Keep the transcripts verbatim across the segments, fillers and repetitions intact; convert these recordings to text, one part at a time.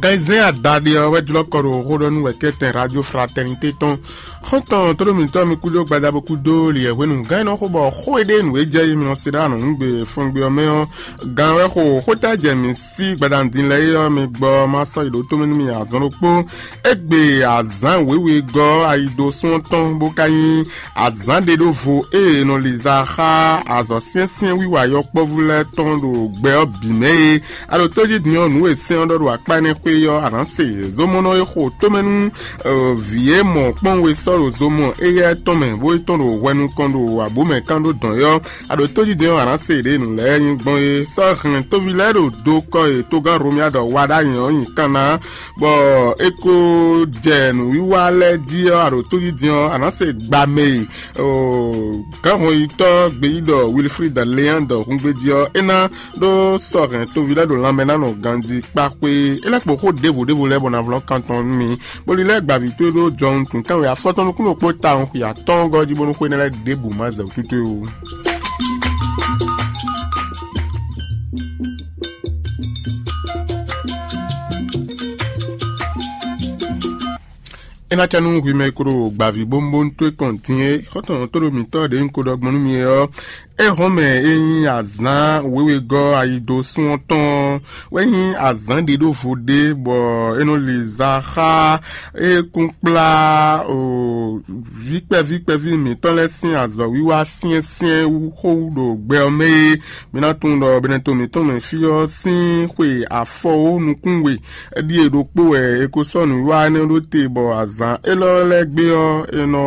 Gan e zɛ́n adaɖé ɔ́ wɛ jlɔ́ kɔ ɖo xó ɖɔ nú wɛ̌kɛ́tɛn Radio Fraternité tɔn. Xɔ́ntɔn tóɖó mǐtɔn mi kúdó gbada bó kúdó liyɛ hwenu gán e nɔ xo bɔ xó e ɖe nǔ e jɛ yi mi nɔ se ɖó anɔ̌nugbe fɔngbe ɔ́ mɛ ɔ́, gán wɛ xo xóta jɛ mǐ sí gbadanu din lɛ́ɛ é ɔ́, mi gbɔ ma sɔ́ yi ɖǒ tomɛ nú mi azɔn ɖokpó. Égbé azǎn wěwe gɔ́ ayi dó sún ɔ́ tɔn, bó ka nyí azǎn ɖé ɖó vo e è nɔ li za xá azɔ̌ syɛ́nsyɛ́n wiwa yɔkpɔ́vú lɛ́ɛ tɔn ɖo gbɛ ɔ́ bǐ mɛ é. A ɖo tó jí din ɔ́, nǔ e sɛ́n ɔ́ ɖɔ ɖo akpá énɛ́ xwé ɔ́, a nǎ se zomɔnɔ e xo tomɛ nú vǐ e mɔ kpɔ́n we sɔ́ ɖo zomɔ éyɛ́ tɔn mɛ, bó yi tɔn ɖo hwɛ nukɔn ɖo abǒ mɛ kán ɖó dɔn é ɔ́, a ɖo tó jí din ɔ́, a nǎ se ɖě nǔ lɛ́ɛ nyí gbɔn é. Sɔ́ hɛn tóví lɛ́ɛ ɖo do kɔ e togán Romiadɔ wa ɖ'ayǐ ɔ́ nyi kan ná, bɔ é ko jɛ nǔwiwa lɛ́ɛ jí ɔ́, a ɖo tó jí din ɔ́, a nǎ se gbamɛ e gǎnhɔnyitɔ́ gbeyíɖɔ Wilfrid Leandre hun gbé jí ɔ́, é ná ɖó sɔ́ hɛn toví lɛ́ɛ ɖo lanmɛ ná nɔ ganjí kpá xwé. É lɛ́ kpo xó ɖěvo ɖěvo lɛ́ɛ bɔ ná vlɔ́ kan tɔn nú mi, bó lílɛ́ gbavǐ towe ɖó jɔhɔn tunwun kánwe afɔtɔn nukúnnú kpó tawun xwe atɔ́ɔ́ngɔ́ jí bónú xwé énɛ́ lɛ́ɛ ɖěbǔ ma zɛ wǔtútú ó. É ná cá nú hwi mɛ e ko ɖo gbavǐ bónbónú towe kɔn din é, xɔ́ntɔn tó ɖo mǐtɔn ɖě un ko ɖɔ gbɔn nú mi é ɔ́, é hɔn mɛ e nyí azǎn wěwegɔ́ ayi dó sún ɔ́ tɔn ɔ́, wɛ nyí azǎn ɖé ɖó vo ɖé, bɔ é nɔ li za xá é kún kplá vǐ kpɛví kpɛví mǐtɔn lɛ́ɛ sín azɔ̌wiwa syɛ́nsyɛ́n wú xó wú ɖo gbɛ ɔ́ mɛ é. Mi ná tunwun ɖɔ Benɛto mǐtɔn mɛ fí ɔ́ sín xwe afɔwó nukún we ɖíe ɖokpó wɛ è ko sɔ́ nǔwiwa énɛ́ ɖó te, bɔ azǎn élɔ́ lɛ́ɛ gbe ɔ́, è nɔ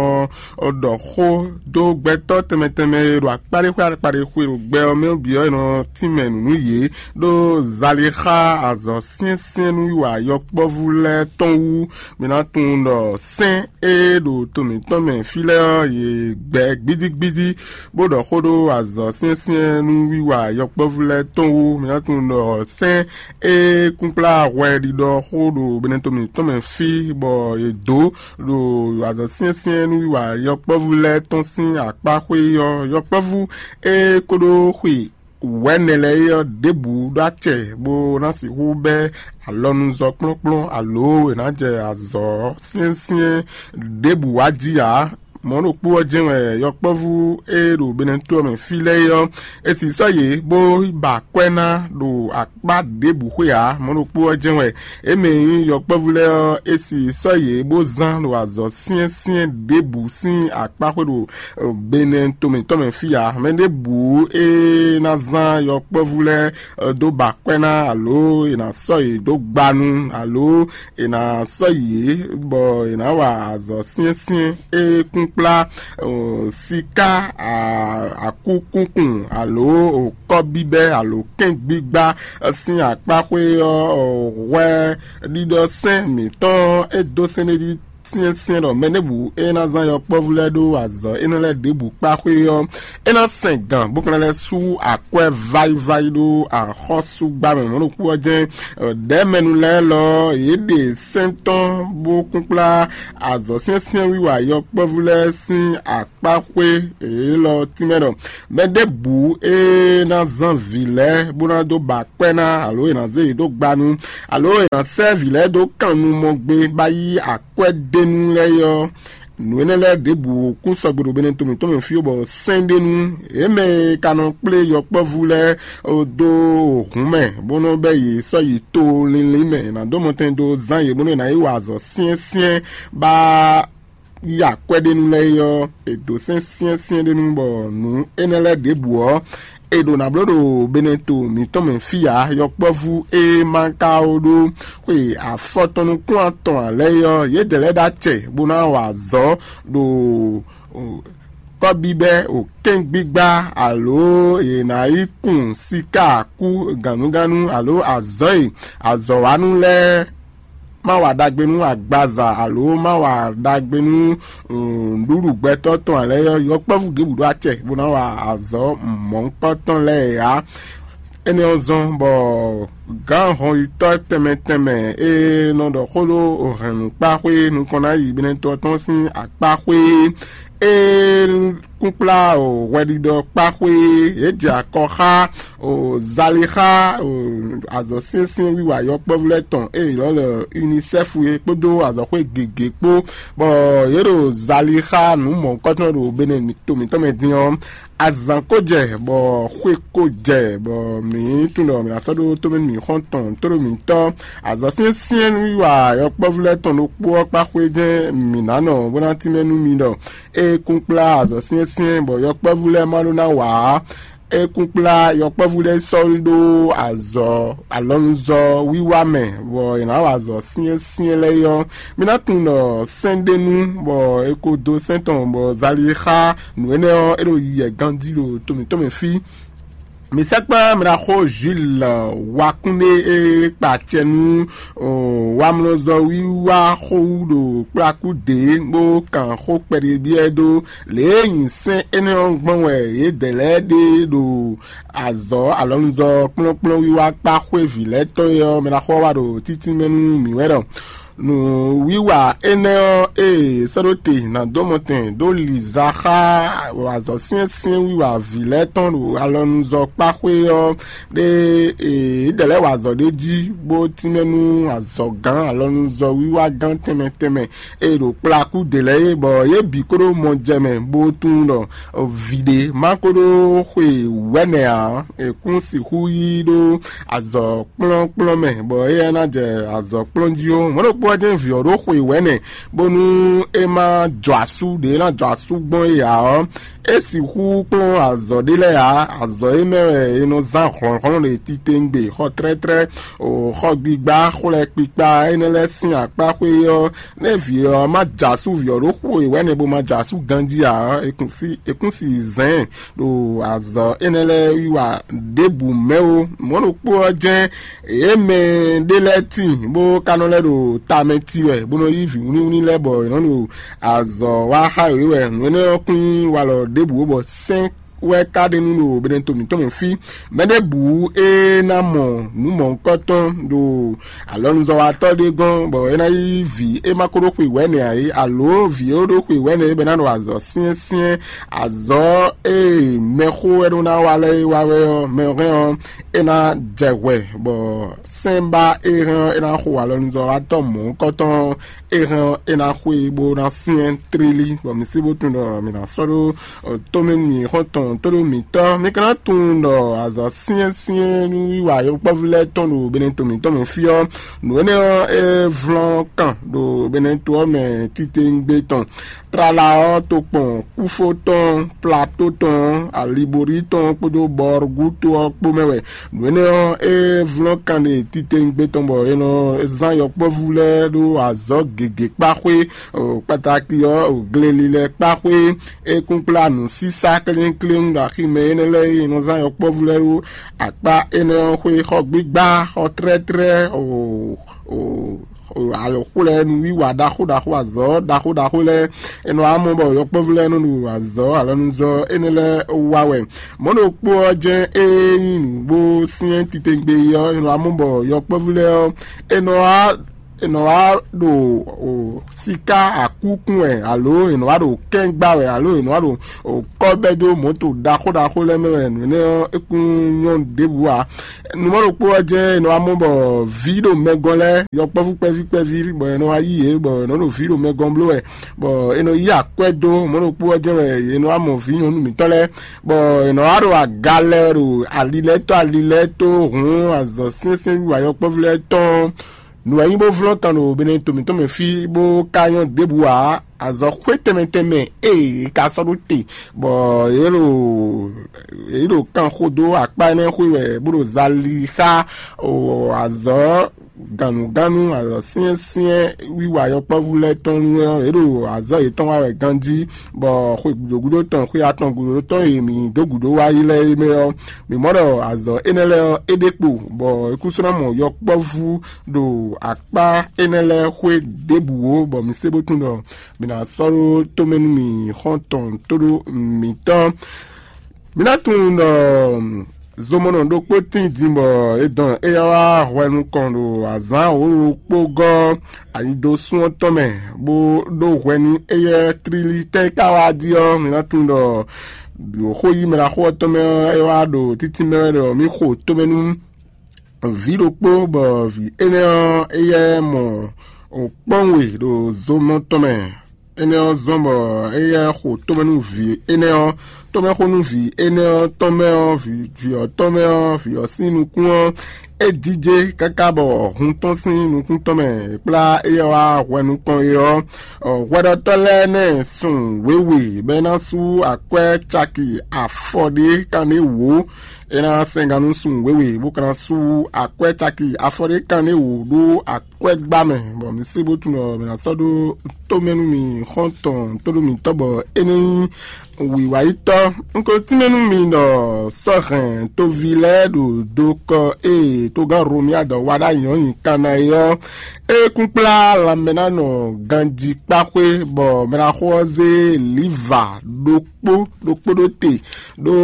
ɖɔ xó dó gbɛtɔ́ tɛnmɛ tɛnmɛ e ɖo akpáɖéxwé akpáɖéxwé ɖo gbɛ ɔ́ mɛ bǐ ɔ́, è nɔ tínmɛ nǔ nú yě, ɖó zali xá azɔ̌ syɛ́nsyɛ́n nú wiwa yɔkpɔ́vú lɛ́ɛ tɔn wú. Mi ná tunwun ɖɔ sɛ́n e ɖo to mǐtɔn mɛ fí lɛ́ɛ ɔ́, yě gbɛ gbídígbídí, bó ɖɔ xó ɖó azɔ̌ syɛ́nsyɛ́n nú wiwa yɔkpɔ́vú lɛ́ɛ tɔn wú. Mi ná tunwun ɖɔ sɛ́n e kúnkplá hwɛ ɖiɖɔ xó ɖo Benɛto mǐtɔn mɛ fí, bɔ è dǒ ɖo azɔ̌ syɛ́nsyɛ́n nú wiwa yɔkpɔ́vú lɛ́ɛ tɔn sín akpá xwé ɔ́, yɔkpɔ́vú e ko ɖó xwe wɛ̌nɛ lɛ́ɛ é ɔ́ ɖěbǔ ɖó acɛ bó ná sixú bɛ́ alɔnuzɔ́ kplɔ́nkplɔ́n alo è nǎ jɛ azɔ̌ syɛ́nsyɛ́n ɖěbǔ wá jí ǎ. Mɔ̌ ɖokpó ɔ́ jɛ́n wɛ yɔkpɔ́vú e ɖo Benɛto ɔ́ mɛ fí lɛ́ɛ é ɔ́, è sixú sɔ́ yě bó yi ba akwɛ́ ná ɖo akpá ɖěbǔ xwé ǎ. Mɔ̌ ɖokpó ɔ́ jɛ́n wɛ é mɛ e nyí yɔkpɔ́vú lɛ́ɛ ɔ́, è sixú sɔ́ yě bó zán ɖo azɔ̌ syɛ́nsyɛ́n ɖěbǔ sín akpá xwé ɖo Benɛto mǐtɔn mɛ fí ǎ. Mɛ ɖěbǔ e ná zán yɔkpɔ́vú lɛ́ɛ dó ba akwɛ́ ná, alo è nǎ sɔ́ yě dó gba nu, alo è nǎ sɔ́ yě bɔ è nǎ wa azɔ̌ syɛ́nsyɛ́n e kún kplá siká akúkúnkún alo kɔ́ bíbɛ́ alo kɛ́n gbígbá sín akpá xwé ɔ́, hwɛ ɖiɖɔ sɛ́n mǐtɔn e dó sɛ́n ɖ'é jí syɛ́nsyɛ́n ɖɔ mɛ ɖěbǔ e ná zán yɔkpɔ́vú lɛ́ɛ ɖó azɔ̌ énɛ́ lɛ́ɛ ɖěbǔ kpá xwé ɔ́, é ná sɛn gǎn bó ka ná lɛ́ sú akwɛ́ váyíváyí ɖó axɔ́súgbá mɛ mɔ̌ ɖokpó ɔ́ jɛ́n. Ɖɛ̌mɛnu lɛ́ɛ lɔ yě ɖe sɛ́n tɔn bó kúnkplá azɔ̌ syɛ́nsyɛ́n wiwa yɔkpɔ́vú lɛ́ɛ sín akpá xwé élɔ́ tínmɛ ɖɔ mɛ ɖěbǔ e ná zán vǐ lɛ́ɛ bó ná dó ba akwɛ́ ná, alo è nǎ zé yě dó gba nu, alo è nǎ sɛ́ vǐ lɛ́ɛ dó kan nu mɔ gbe bá yí akwɛ́ ɖé nu lɛ́ɛ é ɔ́, nǔ énɛ́ lɛ́ɛ ɖěbǔ kún sɔgbe ɖo Benɛto mǐtɔn mɛ fí bɔ sɛ́n ɖé nu. Yě mɛ e ka nɔ kplé yɔkpɔ́vú lɛ́ɛ dó hǔn mɛ, bó nɔ́ bɛ́ yě sɔ́ yi to linlin mɛ, è nǎ dó mɔtɛn dó zán yě bónú è nǎ yi wa azɔ̌ syɛ́nsyɛ́n bá yi akwɛ́ ɖé nu lɛ́ɛ é ɔ́, è dǒ sɛ́n syɛ́nsyɛ́n ɖé nu bɔ nǔ énɛ́ lɛ́ɛ ɖěbǔ ɔ́, è ɖǒ ná bló ɖo Benɛto mǐtɔn mɛ fí ǎ. Yɔkpɔ́vú e ma ka ó ɖó xwe afɔtɔn nukún atɔn ǎ lɛ́ɛ é ɔ́, yědɛɛ lɛ́ɛ ɖó acɛ bó ná wa azɔ̌ ɖo kɔ́bíbɛ́, o kɛ́ngbígbá, alo yě ná yi kun siká akú gǎnugǎnu, alo azɔ̌ e azɔ̌wanú lɛ́ɛ má wa ɖagbe nú agbaza alo má wa ɖagbe nú nǔɖuɖu gbɛtɔ́ tɔn ǎ lɛ́ɛ ɔ́, yɔkpɔ́vú ɖěbǔ ɖó acɛ bó ná wa azɔ̌ mɔ̌hunkɔtɔn lɛ́ɛ ǎ. Énɛ́ ɔ́ zɔ́n bɔ gǎn hɔnjítɔ́ tɛnmɛ tɛnmɛ e nɔ ɖɔ xó ɖó hɛ̌nnukpáxwé nukɔn ná yi Benɛto ɔ́ tɔn sín akpáxwé é kúnkplá hwɛɖiɖɔ kpáxwé, yě jɛ akɔ xá Zalixa, azɔ̌ syɛ́nsyɛ́n wiwa yɔkpɔ́vú lɛ́ɛ tɔn e è ylɔ́ lɔ UNICEF é kpódó azɔ̌xwé gěgé kpó, bɔ yě ɖo Zalixa nǔ mɔ̌hunkɔtɔn ɖo Benɛ́ɛ to mǐtɔn mɛ din ɔ́, azǎn ko jɛ, bɔ xwe ko jɛ, bɔ mǐ tunwun ɖɔ mǐ ná sɔ́ ɖó tómɛ nú mǐ xɔ́ntɔn tóɖó mǐtɔn azɔ̌ syɛ́nsyɛ́n wiwa yɔkpɔ́vú lɛ́ɛ tɔn ɖokpó ɔ́ kpá xwé jɛ́n mǐ ná nɔ bó ná tínmɛ nú mi ɖɔ é kún kplá azɔ̌ syɛ́nsyɛ́n bɔ yɔkpɔ́vú lɛ́ɛ ma ɖó ná wǎ ǎ. É kún kplá yɔkpɔ́vú lɛ́ɛ sɔ́ ɖó azɔ̌ alɔnuzɔ́ wiwa mɛ, bɔ è nǎ wa azɔ̌ syɛ́nsyɛ́n lɛ́ɛ ɔ́, mi ná tunwun ɖɔ sɛ́n ɖé nu, bɔ è ko dó sɛ́n tɔn, bɔ Zalixa nǔ énɛ́ ɔ́, é ɖo yiyi wɛ ganjí ɖo to mǐtɔn mɛ fí. Mi sɛkpɔ́ mǐɖaxó Jules Wakúnɖé e kpa acɛ nú wamlɔzɔ́ wiwa xó wú ɖo kplakú dě bó kan xó kpɛɖébyɛ́ dó lě e nyi sɛ́n énɛ́ ɔ́ gbɔn wɛ yědɛɛ lɛ́ɛ ɖe ɖo azɔ̌ alɔnuzɔ́ kplɔ́nkplɔ́n wiwa kpá xwé vǐ lɛ́ɛ tɔn é ɔ́, mǐɖaxó ɔ́ wa ɖo títínmɛ nú mǐ wɛ ɖɔ nǔwiwa énɛ́ ɔ́ e è sɔ́ ɖó te nǎ dó mɔtɛn dó liza xá azɔ̌ syɛ́nsyɛ́n wiwa vǐ lɛ́ɛ tɔn ɖo alɔnuzɔ́ kpá xwé ɔ́ ɖe, yědɛɛ lɛ́ɛ wa azɔ̌ ɖé jí bó tínmɛ nú azɔ̌gán alɔnuzɔ́ wiwa gán tɛnmɛ tɛnmɛ e ɖo kplakú dě lɛ́ɛ é, bɔ yě bǐ ko ɖó mɔ jɛ mɛ bó tunwun ɖɔ vǐ ɖé ma ko ɖó xwe wɛ̌nɛ ǎ, è kún sixú yí ɖó azɔ̌ kplɔ́nkplɔ́n mɛ, bɔ éyɛ́ ná jɛ azɔ̌ kplɔ́n jí ó. Mɔ̌ ɖokpó ɔ́ jɛ́n vǐ ɔ́ ɖó xwe wɛ̌nɛ, bónú é má jɔ asú ɖě é ná jɔ asú gbɔn é ǎ ɔ́, é sixú kplɔ́n azɔ̌ ɖé lɛ́ɛ ǎ. Azɔ̌ e mɛ wɛ è nɔ zán hlɔ̌nhlɔ́n ɖe titewungbe, xɔ tlɛ́tlɛ́, xɔ gbígbá, xwlɛ kpikpa énɛ́ lɛ́ɛ sín akpá xwé ɔ́, nɛ́ vǐ ɔ́ má jɛ asú vǐ ɔ́ ɖó xwe wɛ̌nɛ bó ma jɛ asú ganjí ǎ ɔ́, è kún si zɛ̌n ɖo azɔ̌ énɛ́ lɛ́ɛ wiwa ɖěbǔ mɛ ó. Mɔ̌ ɖokpó ɔ́ jɛ́n yě mɛ ɖé lɛ́ɛ tíin bó ka nɔ lɛ́ ɖo tamɛ ti wɛ bó nɔ yí vǐwlíwlí lɛ́ɛ bɔ yě nɔ ɖo azɔ̌ wa xá yě wɛ. Nǔ énɛ́ ɔ́ kún nyí walɔ ɖěbǔ ó, bɔ sɛ́n wɛ ka ɖe nú ɖo Benɛ́ɛ to mǐtɔn mɛ fí. Mɛ ɖěbǔ e ná mɔ nǔ mɔ̌hunkɔtɔn ɖo alɔnuzɔ́watɔ́ ɖé gɔ́n, bɔ é ná yí vǐ e ma ko ɖó xwe wɛ̌nɛ ǎ é, alǒ vǐ e ɖó xwe wɛ̌nɛ é bɔ é ná ɖo azɔ̌ syɛ́nsyɛ́n, azɔ̌ e mɛxó wɛ ɖó ná wa lɛ́ɛ é wa wɛ ɔ́, mɛ hɛn ɔ́, é ná jɛ hwɛ, bɔ sɛ́n ba é hɛn ɔ́, é ná xo alɔnuzɔ́watɔ́ mɔ̌hunkɔtɔn ɔ́, é hɛn ɔ́, é ná xwé bó ná syɛ́n tlílí, bɔ mi sí bó tunwun ɖɔ mǐ ná sɔ́ ɖó tɔ́mɛnu xɔ́ntɔn tóɖó mǐtɔn. Mi ka ná tunwun ɖɔ azɔ̌ syɛ́nsyɛ́n nú wiwa yɔkpɔ́vú lɛ́ɛ tɔn ɖo Benɛ́ɛ to mǐtɔn mɛ fí ɔ́, nǔ énɛ́ ɔ́, é vlɔ́n kan ɖo Benɛ́ɛ to ɔ́ mɛ titewungbe tɔn. Tlala ɔ́, tokpɔn kúfó tɔn, plató tɔn, aliborí tɔn kpódó bɔrugúto ɔ́ kpó mɛ wɛ. Nǔ énɛ́ ɔ́, é vlɔ́n kan ɖe titewungbe tɔn bɔ è nɔ zán yɔkpɔ́vú lɛ́ɛ ɖó azɔ̌ gěgé kpá xwé, kpatáki ɔ́, gleli lɛ́ɛ kpá xwé. É kún kplá nǔsísá klénkléŋ ɖo aximɛ énɛ́ lɛ́ɛ e è nɔ zán yɔkpɔ́vú lɛ́ɛ ɖó akpá énɛ́ ɔ́ xwé, xɔ gbígbá, xɔ tlɛ́tlɛ́, alɔxwlɛ́nu wiwa ɖaxó ɖaxó, azɔ̌ ɖaxó ɖaxó lɛ́ɛ. È nɔ wá mɔ bɔ yɔkpɔ́vú lɛ́ɛ nɔ ɖo azɔ̌ alɔnuzɔ́ énɛ́ lɛ́ɛ wa wɛ. Mɔ̌ ɖokpó ɔ́ jɛ́n é nyí nǔgbó syɛ́n titewungbe ɔ́, è nɔ wá mɔ bɔ yɔkpɔ́vú lɛ́ɛ ɔ́, è nɔ wá è nɔ wá ɖo siká akúkún wɛ, alo è nɔ wá ɖo kɛ́n gbá wɛ, alo è nɔ wá ɖo kɔ́ bɛ́ dó mɔ̌to ɖaxó ɖaxó lɛ́ɛ mɛ wɛ. Nǔ énɛ́ ɔ́, é kún nyɔ́ ɖěbǔ ǎ. Numɔ̌ ɖokpó ɔ́ jɛ́n è nɔ wá mɔ bɔ vǐ ɖo mɛ gɔ́n lɛ́ɛ, yɔkpɔ́vú kpɛví kpɛví, bɔ è nɔ wá yí yě, bɔ è nɔ ɖo vǐ ɖo mɛ gɔ́n bló wɛ, bɔ è nɔ yí akwɛ́ dó. Mɔ̌ ɖokpó ɔ́ jɛ́n wɛ è nɔ wá mɔ vǐ nyɔ̌nu mǐtɔn lɛ́ɛ, bɔ è nɔ wá ɖo aga lɛ ɖo ali lɛ́ɛ tó ali lɛ́ɛ tó hǔn azɔ̌ syɛ́nsyɛ́n wiwa yɔkpɔ́vú lɛ́ɛ tɔn. Nǔ wɛ nyí bó vlɔ́n kan ɖo Benɛ́ɛ to mǐtɔn mɛ fí, bó ka nyɔ́ ɖěbǔ ǎ. Azɔ̌ xwé tɛnmɛ tɛnmɛ e è ka sɔ́ ɖó te, bɔ yě ɖo yě ɖo kan xo dó akpá énɛ́ xwé wɛ, bó ɖo zali xá azɔ̌ gannúgannu, azɔ̌ syɛ́nsyɛ́n wiwa yɔkpɔ́vú lɛ́ɛ tɔn nu ɔ́, yě ɖo azɔ̌ yětɔn wa wɛ ganjí, bɔ xwe gǔdo gúdo tɔn, xwe atɔn gǔdo tɔn e mǐ dó gǔdo wá yi lɛ́ɛ é mɛ ɔ́, mǐ mɔ ɖɔ azɔ̌ énɛ́ lɛ́ɛ ɔ́, é ɖe kpo, bɔ é kún sɔ́ ná mɔ yɔkpɔ́vú ɖo akpá énɛ́ lɛ́ɛ xwé ɖěbǔ ó, bɔ mi se bó tunwun ɖɔ mǐ ná sɔ́ ɖó tomɛ nú mì xɔ́ntɔn tóɖó mǐtɔn. Mi ná tunwun ɖɔ Zomɔnɔ ɖokpó tín din bɔ é dɔn éyɛ́ wá hwɛ nukɔn ɖo azǎn wǒ ɖokpó gɔ́ anyidosún ɔ́ tɔn mɛ, bó ɖó hwɛ nú éyɛ́ tlílí. Tɛ́ é ka wá jí ɔ́, mi ná tunwun ɖɔ ɖo xó yí mɛ ɖaxó ɔ́ tɔn mɛ ɔ́, é wá ɖo títí mɛ wɛ ɖɔ mǐ xo tomɛ nú vǐ ɖokpó, bɔ vǐ énɛ́ ɔ́, éyɛ́ mɔ kpɔ́nwe ɖo zomɔ tɔn mɛ. Énɛ́ ɔ́ zɔ́n bɔ éyɛ́ xo tomɛ nú vǐ énɛ́ ɔ́, tomɛ xo nú vǐ énɛ́ ɔ́ tɔn mɛ ɔ́, vǐ vǐ ɔ́ tɔn mɛ ɔ́, vǐ ɔ́ sín nukún ɔ́, é jijé káká bɔ hun tɔn sín nukún tɔn mɛ è kplá éyɛ́ wá hwɛ nukɔn é ɔ́, hwɛɖɔtɔ́ lɛ́ɛ nɛ́ sun wěwe bɔ é ná sú akwɛ́ caki afɔ ɖé kanɖé wǒ. É ná sɛn gannú sun wěwe bó ka ná sú akwɛ́ caki afɔ ɖé kanɖé wǒ ɖó akwɛ́gbá mɛ, bɔ mi se bó tunwun ɖɔ mǐ ná sɔ́ ɖó tó mɛ nú mi xɔ́ntɔn tóɖó mǐtɔn bɔ é ní nyí wǐwáyítɔ́. Un ko tínmɛ nú mi ɖɔ sɔ́hɛn toví lɛ́ɛ ɖo dokɔ e togán Romia dɔ wa ɖó anyɔ̌ nyi kan ná é ɔ́, é kún kplá lanmɛ ná nɔ ganjí kpá xwé, bɔ mɛɖaxó ɔ́ zé lǐva ɖokpó ɖokpó ɖó te ɖó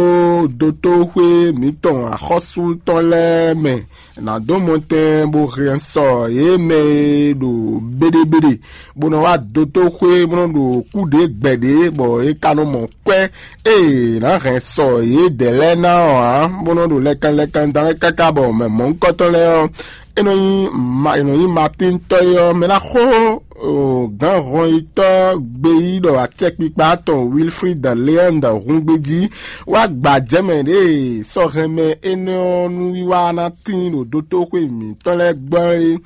dotóxwé mǐtɔn axɔ́sú tɔn lɛ́ɛ mɛ, nǎ dó mɔtɛn bó hɛn sɔ yě mɛ e ɖo béɖébeɖé, bó nɔ wá dotóxwé bó nɔ ɖo kúɖě gbɛ̌ɖé, bɔ é ka nɔ mɔ kwɛ́ e nǎ hɛn sɔ yědɛɛ lɛ́ɛ ná ɔ́ ǎ, bó nɔ ɖo lɛkanlɛkan dán wɛ káká bɔ mɛ mɔ̌hunkɔtɔn lɛ́ɛ ɔ́, é nɔ nyí ma è nɔ nyí Matíntɔ́ é ɔ́, mɛ ná xo gǎnhɔnyitɔ́ gbeyíɖɔ acɛkpikpa tɔn Wilfrid Leander hun gbe jí wá gbajɛmɛ ɖě sɔ́hɛnmɛ énɛ́ ɔ́ núwiwa ná tín ɖo dotóxwé mǐtɔn lɛ́ɛ gbɔ é.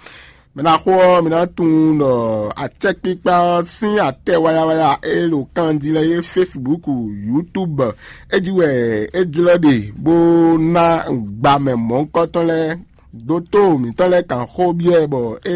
Mɛ ná xo ɔ́, mi ná tunwun ɖɔ acɛkpikpa ɔ́ sín atɛ wayawaya e ɖo kanjí lɛ́ɛ é Facebook, YouTube, é jí wɛ é jlɔ́ ɖe bó ná gba mɛ mɔ̌hunkɔtɔn lɛ́ɛ. Dotó mǐtɔn lɛ́ɛ kan xó byɔ́ ɛ bɔ é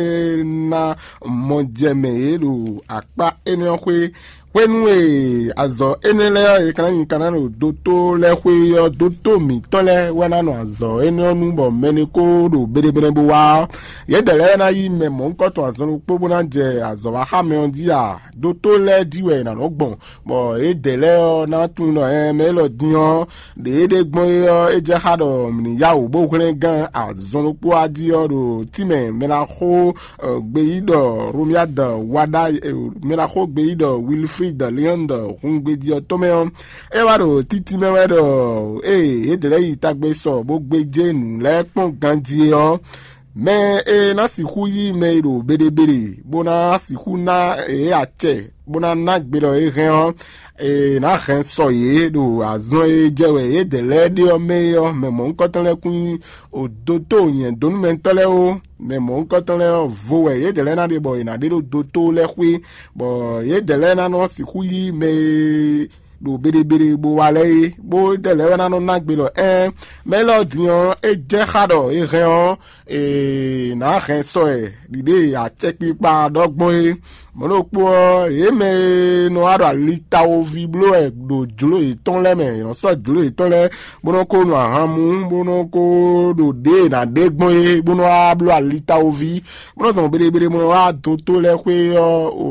ná mɔ jɛ mɛ yě ɖo akpá énɛ́ ɔ́ xwé. Hwenu e azɔ̌ énɛ́ lɛ́ɛ ɔ́, è ka ná nyi ka ná ɖo dotó lɛ́ɛ xwé ɔ́, dotó mǐtɔn lɛ́ɛ wɛ ná nɔ azɔ̌ énɛ́ ɔ́ nu bɔ mɛɖé ko ɖo beɖebeɖe bó wá ɔ́, yědɛɛ lɛ́ɛ wɛ ná yí mɛ mɔ̌hunkɔtɔn azɔn ɖokpó bó ná jɛ azɔ̌waxámɛ ɔ́ jí a? Dotó lɛ́ɛ jí wɛ è nǎ nɔ gbɔn, bɔ yědɛɛ lɛ́ɛ ɔ́ ná tunwun ɖɔ ɛn mɛ élɔ́ din ɔ́, ɖě é ɖe gbɔn é ɔ́, é jɛ xá ɖɔ mǐ ní yá wǔ bó hwlɛ́n gán azɔn ɖokpó wá jí ɔ́ ɖo tínmɛ mɛɖaxó gbeyíɖɔ Romiad Wada, mɛɖaxó gbeyíɖɔ Wilfrid Leander hun gbejí ɔ́ tɔn mɛ ɔ́, é wá ɖo títí mɛ wɛ ɖɔ ée yědɛɛ lɛ́ɛ yi tagbé sɔ bó gbéjé nǔ lɛ́ɛ kpɔ́n ganjí é ɔ́, mɛ e ná sixú yí mɛ e ɖo beɖebeɖe bó ná sixú ná yě acɛ bó ná ná gbe ɖɔ é hɛn ɔ́, è nǎ hɛn sɔ yě ɖo azɔn e jɛ wɛ yědɛɛ lɛ́ɛ ɖe ɔ́ mɛ é ɔ́, mɛ mɔ̌hunkɔtɔn lɛ́ɛ kún nyí dotó nyɛ̌dónúmɛtɔ́ lɛ́ɛ ó. Mɛ mɔ̌hunkɔtɔn lɛ́ɛ ɔ́, vo wɛ yědɛɛ lɛ́ɛ ná ɖe bɔ è nǎ ɖe ɖó dotó lɛ́ɛ xwé, bɔ yědɛɛ lɛ́ɛ ná nɔ sixú yí mɛ e ɖo beɖebeɖe bó wa lɛ́ɛ é, bó dɛ lɛ́ɛ wɛ ná nɔ ná gbe ɖɔ ɛ́n, mɛ élɔ́ din ɔ́, é jɛ xá ɖɔ è hɛn ɔ́, è nǎ hɛn sɔ ɛ ɖiɖe acɛkpikpa ɖɔ gbɔn é. Mɔ̌ ɖokpó ɔ́, yě mɛ e nɔ wá ɖo ali tawoví bló wɛ ɖo jlǒ yětɔn lɛ́ɛ mɛ, è nɔ sɔ́ jlǒ yětɔn lɛ́ɛ bó nɔ́ ko nu ahan mú, bó nɔ́ ko ɖo ɖě è nǎ ɖe gbɔn é, bó nɔ́ wá bló ali tawoví, bó nɔ́ zɔn beɖebeɖe bó nɔ́ wá dotó lɛ́ɛ xwé ɔ́, o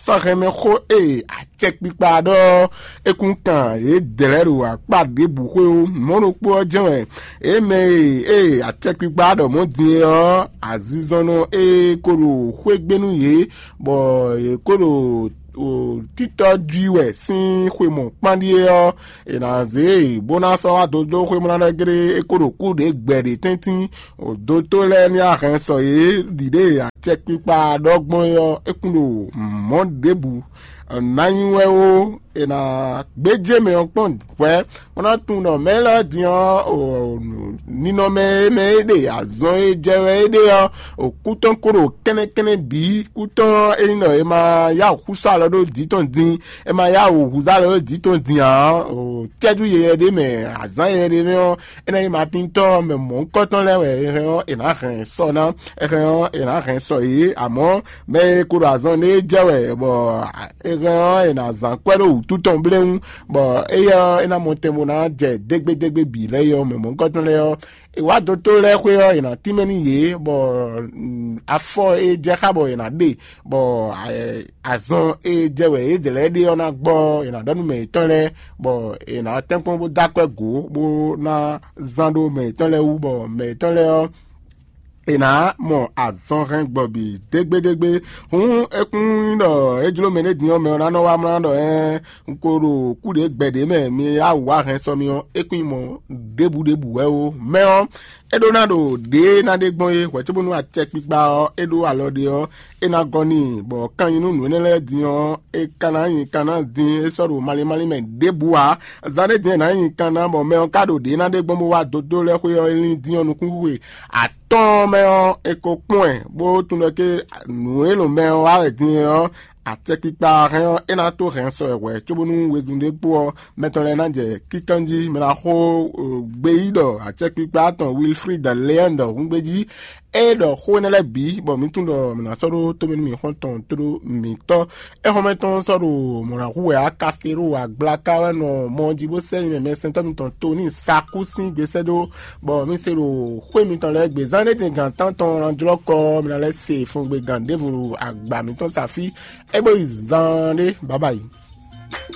sɔ́ hɛn mɛ xó e acɛkpikpa ɖɔ é kún kan yě dlɛ̌ ɖo akpá ɖěbǔ xwé ó. Mɔ̌ ɖokpó ɔ́ jɛ́n wɛ é mɛ e ée acɛkpikpa ɖɔ mɔ̌ din é ɔ́, azinzɔnnɔ e ko ɖo xwé gbe nú yě, bɔ yě ko ɖo títɔ́ jí wɛ sín xwe mɔ̌kpán ɖíe ɔ́, è nǎ zě e bó ná sɔ́ wá dodó xwé mlá lɛ́ɛ gblé, é ko ɖo kú ɖě gbɛ ɖě tɛ́ntin. Dotó lɛ́ɛ ní ahɛn sɔ yě ɖiɖe acɛkpikpa ɖɔ gbɔn é ɔ́, é kún ɖo mɔ̌ ɖěbǔ ná nyi wɛ ó. È nǎ gbéjé mɛ ɔ́ kpɔ́n hwɛ̌, bó ná tunwun ɖɔ mɛ élɔ́ din ɔ́, ninɔmɛ e mɛ é ɖe azɔn e jɛ wɛ é ɖe ɔ́, kú tɔn ko ɖo kɛ́nɛ́kɛ́nɛ́ bǐ. Kú tɔn ényí ɖɔ è ma yá wǔ xúsú alɔ ɖó jǐ tɔn din, è ma yá wǔ húzú alɔ ɖó jǐ tɔn din ǎ, cɛ́jú yɛyɛ ɖé mɛ, azǎn yɛyɛ ɖé mɛ ɔ́, é ná nyí Matíntɔ́ mɛ mɔ̌hunkɔtɔn lɛ́ɛ wɛ è hɛn ɔ́, è nǎ hɛn sɔ ná, è hɛn ɔ́, è nǎ hɛn sɔ yě, àmɔ́ mɛ e ko ɖo azɔn ɖé jɛ wɛ, bɔ é hɛn ɔ́, è nǎ zán kwɛ́ ɖó wǔtu tɔn bléwún, bɔ éyɛ́ ɔ́, é ná mɔ tɛn bó ná jɛ dégbédégbé bǐ lɛ́ɛ ɔ́, mɛ mɔ̌hunkɔtɔn lɛ́ɛ ɔ́, è wǎ dotó lɛ́ɛ xwé ɔ́, è nǎ tínmɛ nú yě, bɔ afɔ e jɛ xá bɔ è nǎ ɖe, bɔ azɔn e jɛ wɛ yědɛɛ lɛ́ɛ ɖe ɔ́ ná gbɔ, è nǎ ɖɔ nú mɛ yětɔn lɛ́ɛ, bɔ è nǎ tɛ́nkpɔ́n bó dó akwɛ́ gǒ bó ná zán ɖó mɛ yětɔn lɛ́ɛ wú, bɔ mɛ yětɔn lɛ́ɛ ɔ́, è nǎ mɔ azɔn hɛn gbɔ bǐ dégbédégbé. Hǔn é kún nyí ɖɔ é jló mɛ ɖé din ɔ́, mɛ ɔ́ ná nɔ wá mlá ɖɔ ɛ́n, un ko ɖo kú ɖě gbɛ ɖě mɛ, mi yá wǔ wá hɛn sɔ mi ɔ́, é kún nyí mɔ ɖěbǔ ɖěbǔ wɛ ó. Mɛ ɔ́, é ɖó ná ɖo ɖě ná ɖe gbɔn é hwɛ̌ cóbónú acɛkpikpa ɔ́ é ɖó alɔ ɖe ɔ́, é ná gɔ́ n'i, bɔ kan nyi nú nǔ énɛ́ lɛ́ɛ din ɔ́, é ka ná nyi kan ná din é sɔ́ ɖo malín málín mɛ ɖěbǔ ǎ. Zán ɖé din é nǎ nyi kan ná, bɔ mɛ ɔ́ ka ɖo ɖě ná ɖe gbɔn bó wá dodó lɛ́ɛ xwé ɔ́, é lín din ɔ́ nukún xwixwe atɔ́ɔ́n mɛ ɔ́, è ko kpɔ́n ɛ, bó tunwun ɖɔ ké nǔ e ɖo mɛ ɔ́ wa wɛ din é ɔ́, acɛkpikpa hɛn ɔ́, é ná tó hɛn sɔ ɛ hwɛ̌, cóbónú wezun ɖé kpó ɔ́, mɛ tɔn lɛ́ɛ ná jɛ kíkán jí. Mɛ ná xo gbeyíɖɔ acɛkpikpa tɔn Wilfrid Leandre húngbéjí. É ɖɔ xó énɛ́ lɛ́ɛ bǐ, bɔ mǐ tunwun ɖɔ mǐ ná sɔ́ ɖó tómɛ nú mǐ xɔ́ntɔn tlóló mǐtɔn. Éhɔ́mɛ tɔn sɔ́ ɖo mɔ̌ ná hu wɛ á Kastelo agblaka wɛ nɔ mɔ jí bó sɛ́ nyi mɛ mɛsɛntɔ́ mitɔn to n'i Saku sín gbe sɛ́ dó, bɔ mǐ se ɖo xwé mitɔn lɛ́ɛ gbe. Zán ɖé din gǎn tántɔn ná jlɔ́ kɔ ɔ́, mi ná lɛ́ se fɔngbe gǎn ɖěvo ɖo agba mǐtɔn sa fí. É bó yi zaan ɖé bǎbǎ yi.